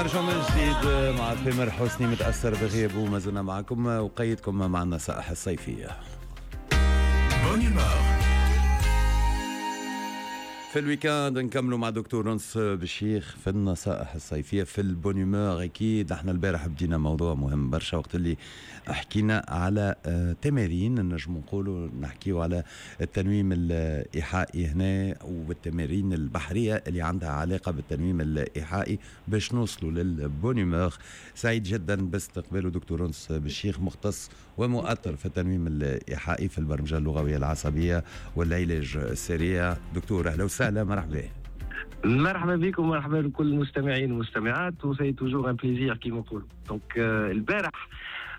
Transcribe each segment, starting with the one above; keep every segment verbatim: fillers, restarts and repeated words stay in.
نرجع من جديد مع تامر حسني متأثر بغيابه، ما زلنا معكم وقيدكم مع النصائح الصيفية. Bonne humeur. في ال week-end نكملوا مع دكتور انس بالشيخ في النصائح الصيفية في ال bonne humeur. اكيد احنا البارح بدينا موضوع مهم برشا وقت اللي حكينا على آه، تمارين، نجم نقولوا نحكيو على التنويم الايحائي هنا والتمارين البحرية اللي عندها علاقة بالتنويم الايحائي باش نوصلوا لل bonne humeur. سعيد جدا باستقباله دكتور انس بالشيخ، مختص ومؤطر في التنويم الايحائي في البرمجة اللغوية العصبية والعلاج السريع. دكتور اهلا وسهلا، مرحبا. مرحبا بكم ومرحبا بكل المستمعين والمستمعات، و c'est toujours un plaisir كيما نقولوا. donc البارح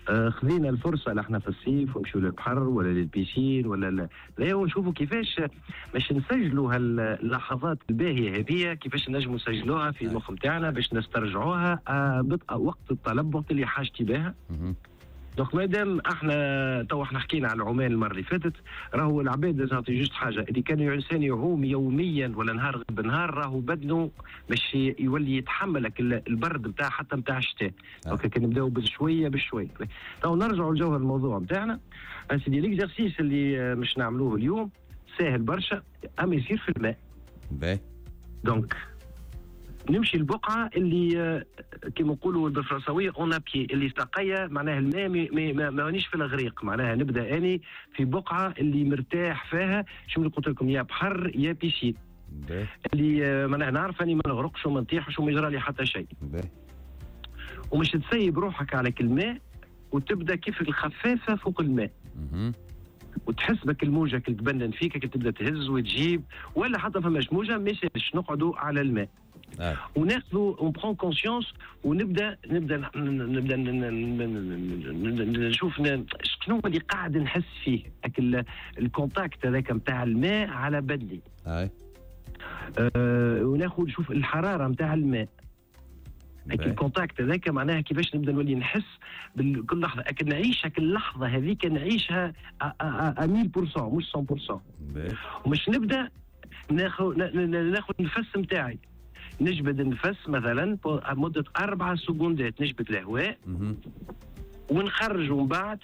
آه، خذينا الفرصة نحن في الصيف ونمشيو للبحر ولا لل piscine ولا لا، ونشوفوا كيفاش باش نسجلوا هاللحظات الباهيه هذه، كيفاش نجموا نسجلوها في المخ نتاعنا باش نسترجعوها آه، وقت الطلب، وقت اللي حاجتي بها. donc مادام احنا تو احنا حكينا على العومان المرة اللي فاتت، راهو العباد لازم نعطي juste حاجه، اللي كان الانسان يعوم يوميا ولا نهار بنهار راهو بدنه باش يولي يتحمل البرد نتاع حتى نتاع الشتاء. donc كي نبداو بشوية بشويه. تو نرجعوا لجوهر الموضوع نتاعنا سيدي. l'exercice اللي مش نعملوه اليوم ساهل برشا، اما يصير في الماء. باهي. donc نمشي البقعة اللي كما نقولوا بالفرنساويه en appui، اللي ساقيه معناها الماء ما مانيش في الغريق، معناها نبدا اني في بقعة اللي مرتاح فيها. شو اللي قلت لكم، يا بحر يا piscine، اللي معناها نعرف اني ما نغرقش وما نطيحش وما يجرى لي حتى شيء. ومش تسيب روحك على الماء وتبدا كيف الخفافه فوق الماء، وتحس بك الموجه كي تبنن فيك، كي تبدا تهز وتجيب، ولا حتى فماش موجه مش نقعدوا على الماء. آه. وناخذوا on prend conscience ونبدا نبدا نبدا نشوف شنو اللي قاعد نحس فيه، ال contact هذاك نتاع الماء على بدني. آه. آه وناخذ نشوف الحرارة نتاع الماء، ال contact هذاك معناها كيفاش نبدا نولي نحس بكل لحظه، اكن نعيش هاك اللحظة هذيك، نعيشها مية بالمية مش مية بالمية. ومش نبدا ناخذ ناخذ النفس نتاعي، نجبد النفس مثلا مده اربع سكوندات، نجبد الهواء ونخرجه من بعد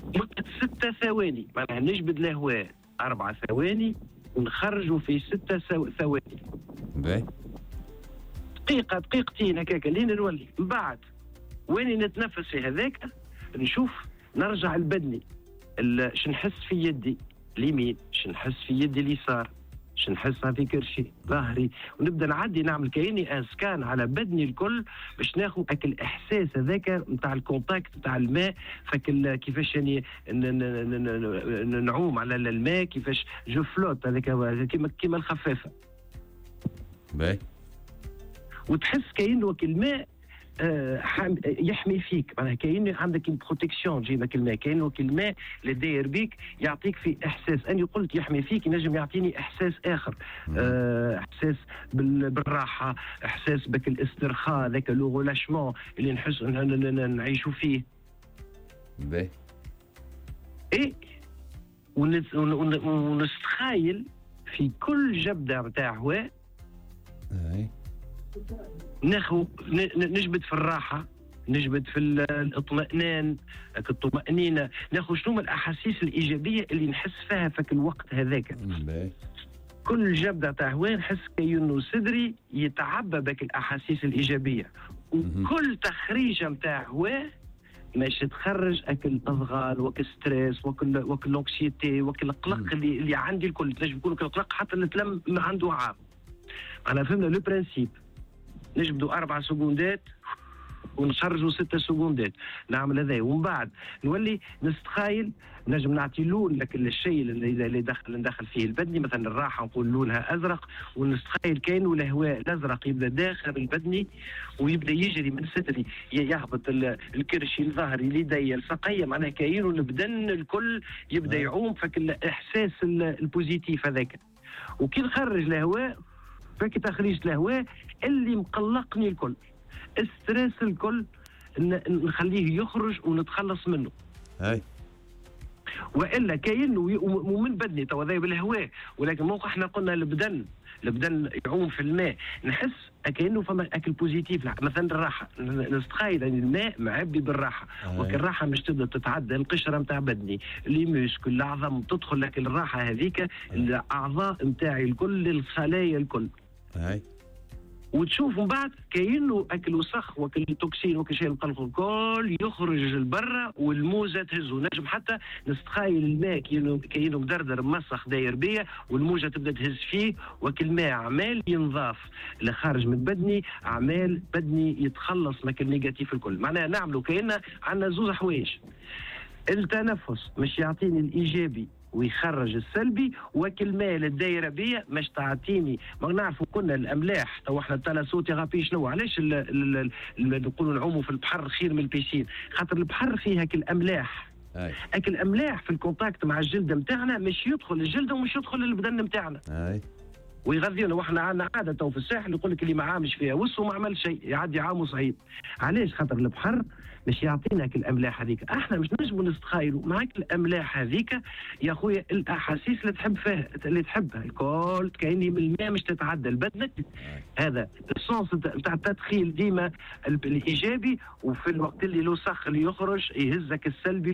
مده ستة ثواني، معناها نجبد الهواء اربع ثواني ونخرجه في ستة ثواني. باهي. دقيقة دقيقتين هكاك لين نولي من بعد وين نتنفس في هذاك، نشوف نرجع لبدني، شو نحس في يدي اليمين، شو نحس في يدي اليسار، شو نحسها في كرشي ظهري، ونبدا نعدي نعمل كاني un scan على بدني الكل باش ناخذ اك الاحساس هذاك نتاع ال contact نتاع الماء، فك كيفاش يعني نعوم على الماء، كيفاش je flotte هذاك كيما كيما الخفافه. باهي. وتحس كأنه الماء آه يحمي فيك، معناها كأنه عندك une protection تجيبك الماء، كأنه الماء اللي داير بيك يعطيك في احساس. اني قلت يحمي فيك، ينجم يعطيني احساس اخر، آه احساس بالراحه، احساس بك الاسترخاء، ذاك le relâchement اللي نحس نعيشوا فيه. باهي. اي ونستخايل في كل جبده نتاع هواء اي ناخو نجبد في الراحة، نجبد في الاطمئنان، الطمأنينة، ناخذ شنو الاحاسيس الايجابية اللي نحس فيها في الوقت هذاك. كل جبده تاع هواء نحس كأنه صدري يتعبى بك الاحاسيس الايجابية، وكل تخريجه نتاع هواء ماشي تخرج اكل الاضغال وك stress وكل وكل l'anxiété وكل القلق اللي, اللي عندي الكل، تنجم يكون القلق حتى اللي تلم عنده عام. انا فهمنا le principe، نجبدوا اربع سكوندات ونخرجوا ستة سكوندات، نعمل هذا ومن بعد نولي نستخايل، نجم نعطي لون لك الشيء اللي اللي دخل ندخل فيه البدني، مثلا الراحة نقول لونها ازرق، ونستخايل كانه الهواء الازرق يبدا داخل البدني ويبدا يجري من صدري، يهبط الكرشي لظهري ليدي الساقيه، معناها كاينه البدن الكل يبدا يعوم فك الاحساس ال positif هذاك. وكي نخرج الهواء فك تخريج الهواء اللي مقلقني الكل، stress الكل نخليه يخرج ونتخلص منه. هاي والا كاين ومن بدني تو هذا بالهواء، ولكن موقع احنا قلنا البدن البدن يعوم في الماء، نحس كانه فما اكل positif. مثلا الراحه، نستخيل يعني الماء معبي بالراحه، وكل الراحة مش تبدا تتعدى القشرة نتاع بدني، les muscles، العظم، تدخل لك الراحة هذيك الاعضاء نتاعي الكل، الخلايا الكل. أي. وتشوف من بعد كاينه اكل وسخ وكل toxine وكل شيء القلق الكل يخرج لبرا والموزه تهزه. نجم حتى نستخايل الماء كاينه كاينه مدردر مسخ داير بيا والموجه تبدا تهز فيه، وكل ماء عمال ينضاف لخارج من بدني، عمال بدني يتخلص من ال négatif الكل. معناها نعملوا كاين عندنا زوز حوايج: التنفس مش يعطيني الايجابي ويخرج السلبي، وكل مال الدايرة بيا مش تعطيني. ما نعرفوا كنا الاملاح تو احنا ال thalassothérapie شنو؟ علاش نقولوا نعوموا في البحر خير من ال piscine؟ خاطر البحر فيه هاك الاملاح، هاك الاملاح في ال contact مع الجلد نتاعنا مش يدخل الجلد ومش يدخل البدن نتاعنا ويغذينا. واحنا عندنا عادة تو في الساحل يقول لك اللي ما عامش فيها وسو ما عمل شيء، يعدي عامة صعيب. علاش؟ خاطر البحر مش يعطينا الاملاح هذيك. احنا مش نجموا نستخايلوا معاك الاملاح هذيك يا خويا، الاحاسيس اللي تحب فيها اللي تحبها الكل كايني من الماء مش تتعدى لبدنك. هذا ال sens نتاع التدخيل ديما الايجابي، وفي الوقت اللي الوسخ اللي يخرج يهزك السلبي.